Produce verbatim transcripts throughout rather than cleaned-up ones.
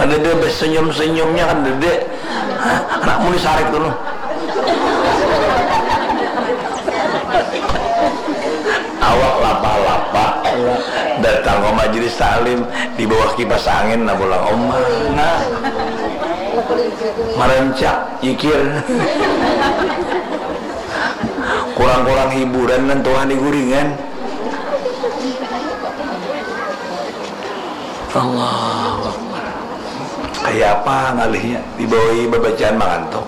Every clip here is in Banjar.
Kadada basenyum-senyumnya, kadada. Hah? Anak mun disarik tu, noh. Awak lapah-lapah datang ka majelis taklim, di bawah kipas angin, nah, pulang, Oma, nah. Marancak, jikir. Kurang-kurang hiburan nang tuha di guringan. Allahu Akbar. Kaya apa ngalihnya? Dibawai babacaan mangantuk.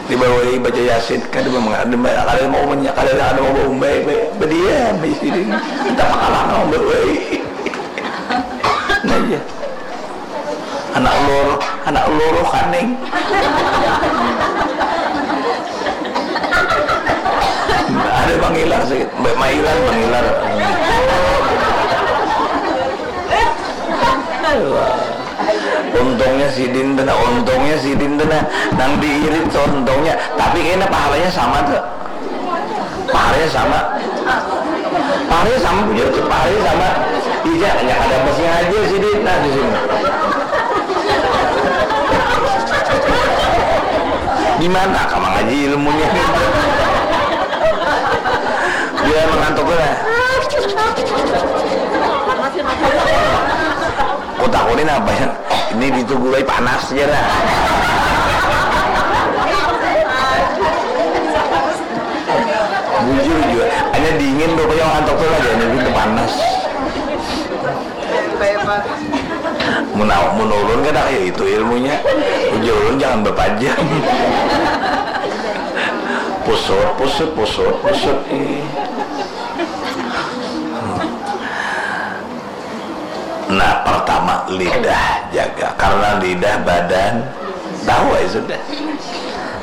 Dibawai baca Yasin, kada mama-, kada ma-, kada mau menya-, kada, kada mau baumbai, ba-, badiam di sini. Entah pakalang mau baumbai. Nah, iya. Anak loro, anak loro kaning. Ada mangilar sikit, ba-, mailar, mangilar. Untungnya sidin tu nah, untungnya sidin tu nah, nang diirit tu untungnya. Tapi kena pahalanya sama tu. Pahalanya sama. Pahalanya sama, bujur tu, pahalanya sama. Ija, hanya kada pas ngajar sidin nah di sini. Di mana ka mangaji ilmunya? Bila mangantuk tu nah. Kutakuni napa ya? Ini di tu gulai panas ja nah. Bujur jua, hanya dingin tu, kaya antok tu lagi, ini tu panas. Mun au-, mun ulun kada kaya itu ilmunya. Ujar ulun jangan bapajam. Pusut, pusut, pusut, pusut. Ih. Nah, pertama lidah jaga, karena lidah badan tahu ya sudah.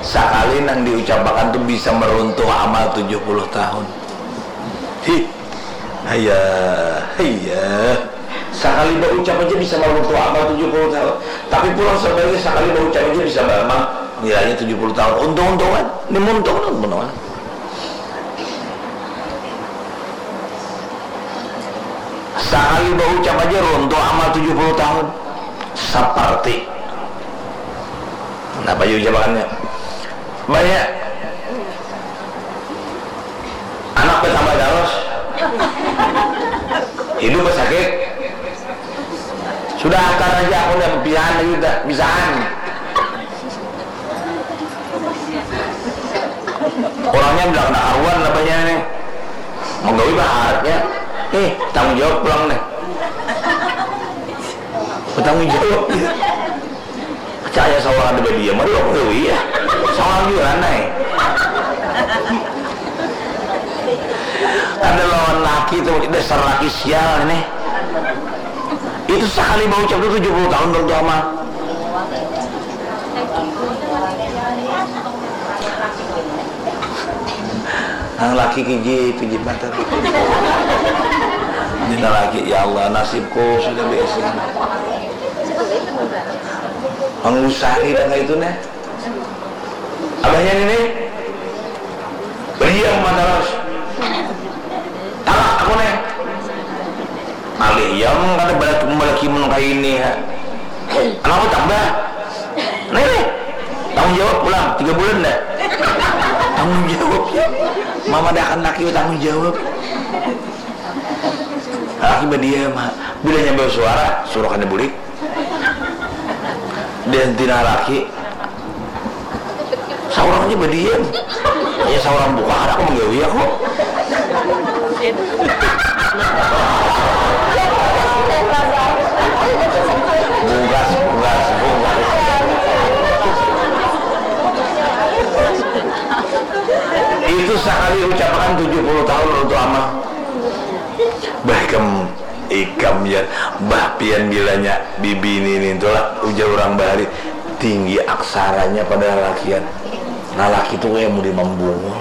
Sakali nang diucapakan tu bisa meruntuh amal tujuh puluh tahun. Hi, haya, haya. Sakali baucap aja bisa meruntuh amal tujuh puluh tahun. Tapi pulang sebaliknya, sakali baucap aja bisa beramal nilainya tujuh puluh tahun. Untung-untungan, ini untung-untungan. Sakali baucap aja runtuh amal tujuh puluh tahun. Seperti napa aja ucapannya? Banyak. Anak bertambah terus. Hidup bersakit. Sudah, hantar aja aku, dah pisahan lagi, dah pisahan. Orangnya bilang, kada karuan abahnya nih. Menggawi baharatnya. Nih, tanggung jawab pulang nih. Bertanggung jawab. Percaya seorang ada badiam, aduh, aku gawi ya. Seorang juga aneh. Ada lawan laki tuh, dasar laki sial ini. Itu sekali baucap tuh tujuh puluh tahun berdoa mah. Nang laki kiji pijit mata. Dina laki, ya Allah, nasibku sudah biasa. Mangusari dah kayak itu nih. Abahnya ini nih. Beriam mata terus. Talak aku nih. Alih yang kada balat balaki mun kaini ha. Anapa tambah? Nih, nih. Tanggung jawab pulang tiga bulan dah. Tanggung jawab ya. Mamadahakan laki tanggung jawab. Laki badiam ha. Bila nyambil suara, suruh kada bulik. Dan tina laki. Saurang aja badiam. Ya, saurang buka, kada aku menggawi aku. Bungkas, bungkas, bungkas. Itu sekali ucapakan tujuh puluh tahun untuk amal. Bah, ikam, ikam ya, bah, pian bilanya bibini ni tulah, ujar orang bahari, tinggi aksaranya pada lalakian. Lalaki tu kaya mudi mambungul.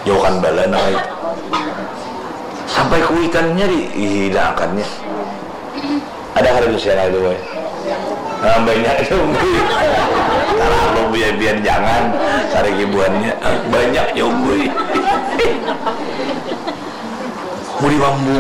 Jauhkan bala nang kaya itu. Sampai kuitannya di, ih, hidangannya. Ada kada tuh siang itu, boy? Nah, banyak itu, boy. Terlalu biar, biar jangan cari hiburannya. Banyak ya, boy. Mudi mambungul.